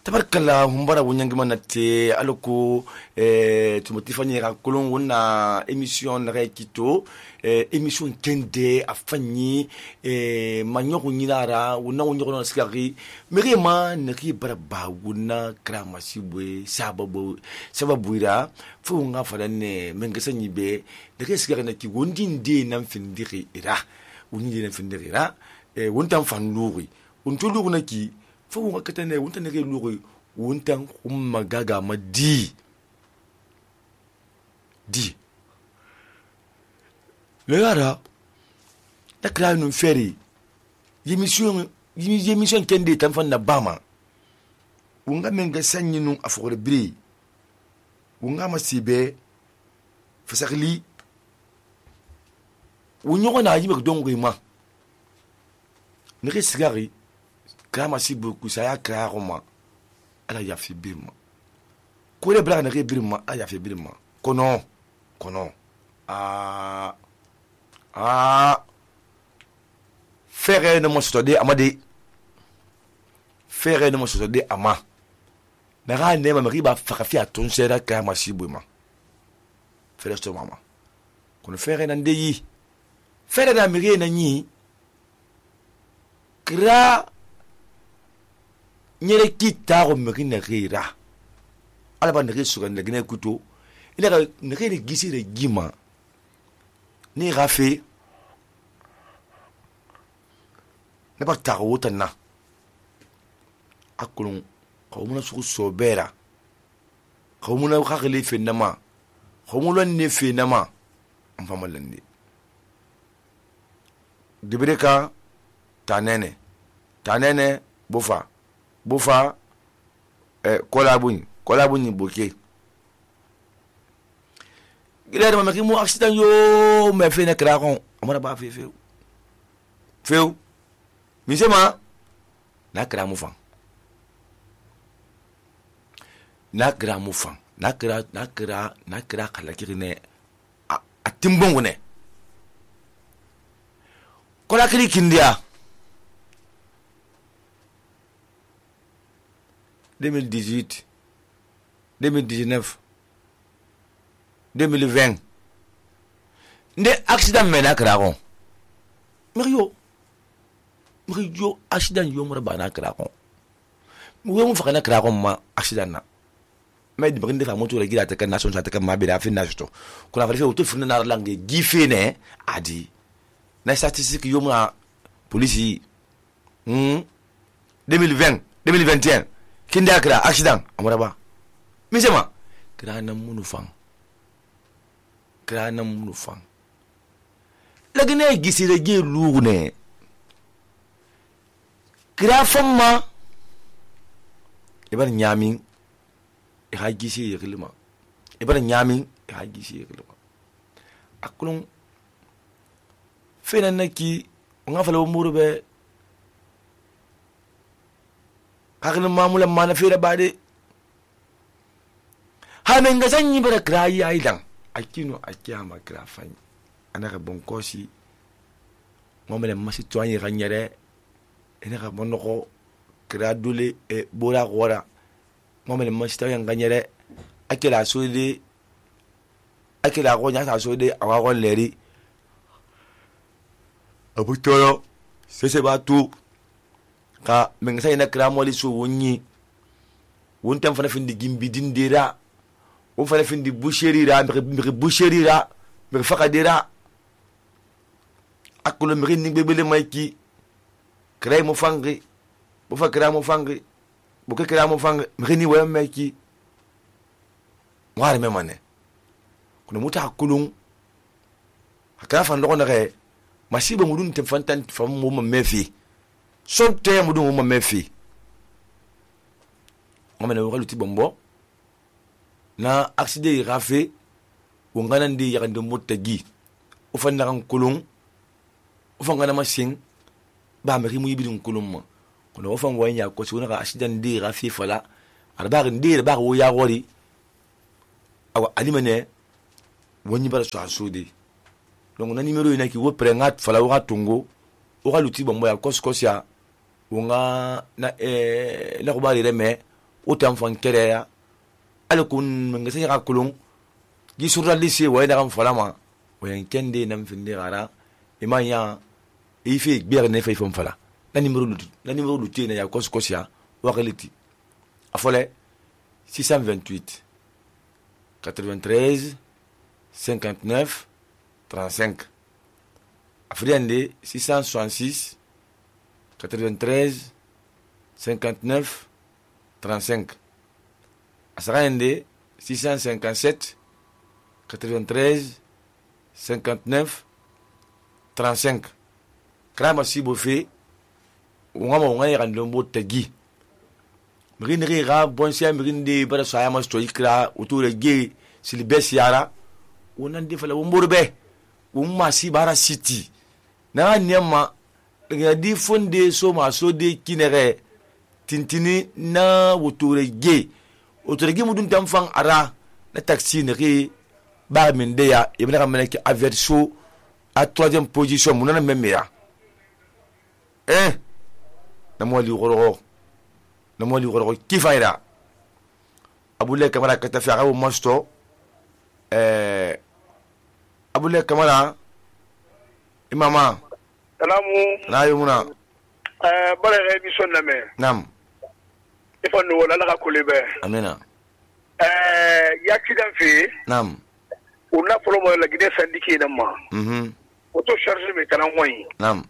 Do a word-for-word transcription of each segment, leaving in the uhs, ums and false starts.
tabarkalla humbara wunyangima nate aloko eh tumoti fanye ka kolon wona émission na kito eh émission kende afanyi eh manyoku nyinara wona wonyoko na sikari merema naki baraba wona kramasibwe sababu sababu ira fu nga falane mengesa nyibe naki sikari na ki wondi nde na mfindiri ira wondi na mfindiri ira eh wonta mfanluri untulu na ki fo nga katane wonta nake luri wonta umma gaga ma di di le yara la kra no feri yemission yemission kende tan fan na bama wonga menga sanyi no afore bri wonga masibe fasakli wonyo na yibe dongo ma ne resigari kama si beaucoup ça ya karama ala ya fi birma ko le bla na ke birma ala ya fi birma kono kono ah ah fere no mo stode amade fere no mo stode ama na ga ne ma riba fa fi aton sera kama si buma fere sto mama kono fere na ndeyi fere na mire na nyi kra nyere kita ko meki na gira ala ba nege suka na gine kuto ila ka nege ni gisi de gima ni rafe ne ba ta wota na akulun ko muna su sobera ko muna ka khali fe nama ko muna ne fe nama am famalande dibreka tanene tanene bofa bofa eh kolabuni kolabuni boke gilere ma ki mo accident yo me fe na krakon amara ba fe fe fe mi sema na kra mu fan na kra mu fan na kra na kra na kra kala kirine a timbon ne kola kiri kindia deux mille dix-huit, deux mille dix-neuf, deux mille vingt. Nde accident mena kragon. Mario. Mario accident yo mura bana kragon. Mo mo fakana kragon ma accident na. Mais de brinde fa moto la gila ta kan nation ta kan ma be da fin na justo. Ko la fa auto fin na langue gife ne adi. Na statistique yo mura police hmm deux mille vingt, deux mille vingt et un. Kindi akra accident amuraba misema kra na munu fang kra na munu fang lagine gisire ge lugune kra famma ibar nyamin e ha gisi yelima ibar nyamin e ha gisi yelima akulun fena naki nga fala murube kakini mamula mana fere bade hamen ga sanyi bara krayi aidan akino akiyama krafani anaka bonkosi ngomele masi toanye ganyere enaka bonoko kradule e bora gora ngomele masi toanye ganyere akela sode akela gonya sa sode awago leri abutoro sese batu ka mengsa ina kramo li so wonyi wontam fana findi gimbi dindira won fana findi boucherira mi boucherira mi fakadira akulo mi ni bebele mayki kray mo fangi bo fa kramo fangi bo ke kramo fangi mi ni wa mayki ngare me mane kuno muta akulun akara fan lokona re masiba mudun te fantan fam mo mefi sonte mudu mo mefi ngomene wo luti bombo na accident rafe wongana ndi yakande motagi o fanna kan kulun o fangana masin ba me rimu yibidun kulun mo kono o fang wanya ko sona ka accident ndi rafe fala arba ndi ba wo ya gori awa alimene woni bara so asudi donc na numéro ina ki wo prengat fala wo tungo o luti bombo ya koskosia wonga na eh na ko bari reme o tan fan kere ya ala kun manga sai ka kulun gi surra lise wa ina kan falama o yan kende nan finde gara imanya ife bier ne fe fon fala la numéro lu la numéro lu tena ya kos kosia wa reliti afole six cent vingt-huit quatre-vingt-treize cinquante-neuf trente-cinq Afriande six cent soixante-six quatre-vingt-treize cinquante-neuf trente-cinq Asarande six cent cinquante-sept quatre-vingt-treize cinquante-neuf trente-cinq Krama sibo fe ngama ngai randombo tagi mrinri ga bonsia mrinde bara saya mas to ikra uture ge silbes yara wonan de fala womborbe umma si bara city na nyama nga di fonde so ma so de kinere tintini na uture ge uture ge mudun tamfan ara na taxi ne ri ba min de ya ibna kamene ki averso à troisième position munana memera eh na mo li goro na mo li goro kifaira abule kamara kata fi arabu masto eh abule kamara imama salamu na yumuna eh bare émission na me nam ifon no wala la kulebe amina eh accident fi nam una promo la gide syndicat na ma mhm auto charge me kana moyi nam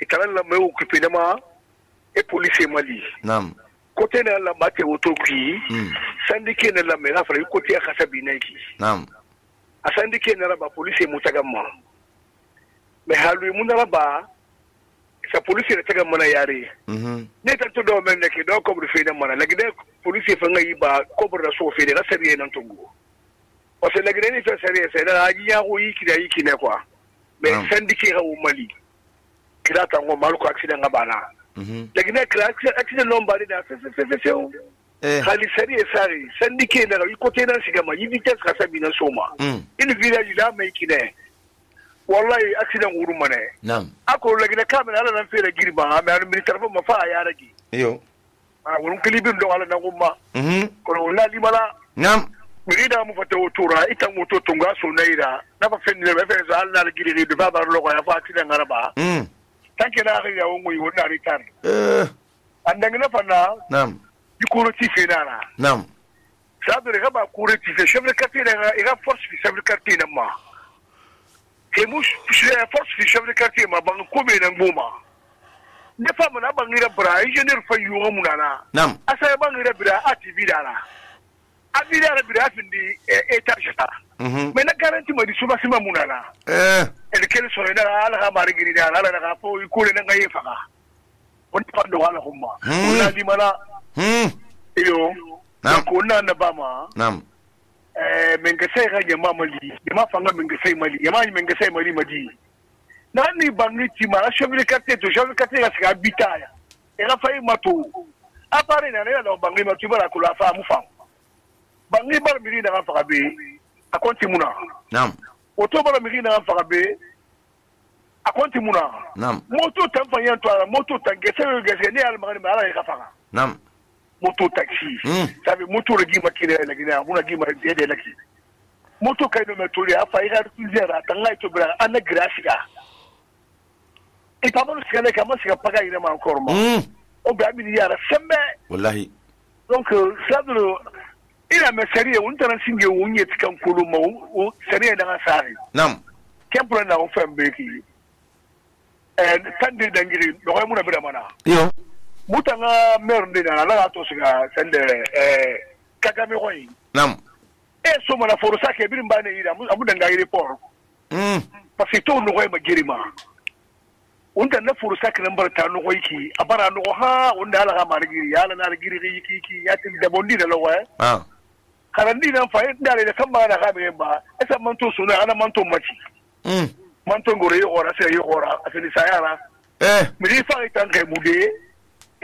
ikana la me occupé na ma et police mali nam côté na la mate auto qui syndicat na la me la fra côté khasabi na ki nam a syndicat na la ba police mutagama me halu munala ba sa police na tagama na yare mhm ne ta to do men ne ki do ko bu fe na mana la gide police fa ngai ba ko bu da so fe na sariye nan tungu o se la gide ni fa sariye sai da haji ya ko yi ki da yi ki ne kwa me syndicat ha umali kira ta ngo malu ko accident ga bana mhm la gide kira accident non ba da se se se se eh hali sariye sari syndicat na yi ko te nan siga ma yi vitesse ka sabi na soma in village la mai ki ne wallahi accident wuru mane nam ako lagina kamera ala nan fere girba ma an militar fa mafa ya rage yo a wurun kilibin don ala nan gumma mhm ko wallahi limala nam mirida mu fata wotura ita moto tunga so naira na fa fen ne fa za Allah giri ne ba ba loko ya fa accident araba mhm tanke na ga ya wongo yi wannan ritar eh andan na fa na nam yikuro ti fe na nam sabre ga ba kure ti fe chef de quartier na ira force fi chef de quartier na ma ke mus force fi chef de quartier ma ban ko be nan goma ne fa mun ban ira bra engineer fa yuwa munana nam asa ban ira bra ativi dara abi dara bra findi etage ta mhm me na garanti ma di suba sima munana eh el kel so ina ala ga mari giri dara ala ga fo ko le nga yefa ga on fa do wala humma ona di mana mhm iyo nam ko na na ba ma nam eh men ga sai ga jama mali jama fanga men ga sai mali jama men ga sai mali madi na ni bangi ti ma chef de quartier to chef de quartier ga ska bitaya e ga fai mato apare na na do bangi ma ti bara kula fa mu fa bangi bar miri na fa be akonti muna nam oto bara miri na fa be akonti muna nam moto tan fa yan to ala moto tan ge sai ge sai ni al magani ma ala ga fa nam moto taxi sabe moto regi makine la gina muna gima de laki moto kai no metori afa ira tuzera tanga to bra ana grafika e pablo skale kama sika paga ina ma encore ma o ba mi yara sembe wallahi donc sadro ina me serie un tan singe unye tikan kulu ma o serie da sari nam kempro na o fembe ki eh tande dangiri do ko muna bira mana yo mutanga mer ndina ala to siga sende eh kagame koyi nam e so mana forosa ke birin bane ira abu danga ire por mm parce que to no koy ma girima unda na forosa ke nambar ta no koy ki abara no ha unda ala ga margiri ala na giri ki ki ya tin da bondi da lawa ah karandi na fa inda le kan ba na ga be ba esa man to suna ana man to maci mm man to gore yo ora sai yo ora asini sayara eh mi fa itan ke mude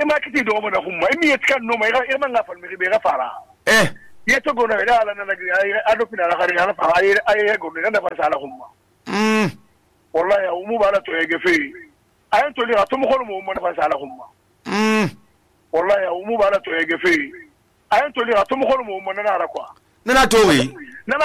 e ma kiti do mo na humma e mi yetkan no ma e ma nga fal mi be ga fara eh yeto go na ala na nagri ay ado pina la khari ala fa ay ay go na na fa sala humma mm wallahi o mu bala to ege fe ay to li ato mo ko mo mo na fa sala humma mm wallahi o mu bala to ege fe a yen to li a to mo ko mo mo na ra quoi nana to wi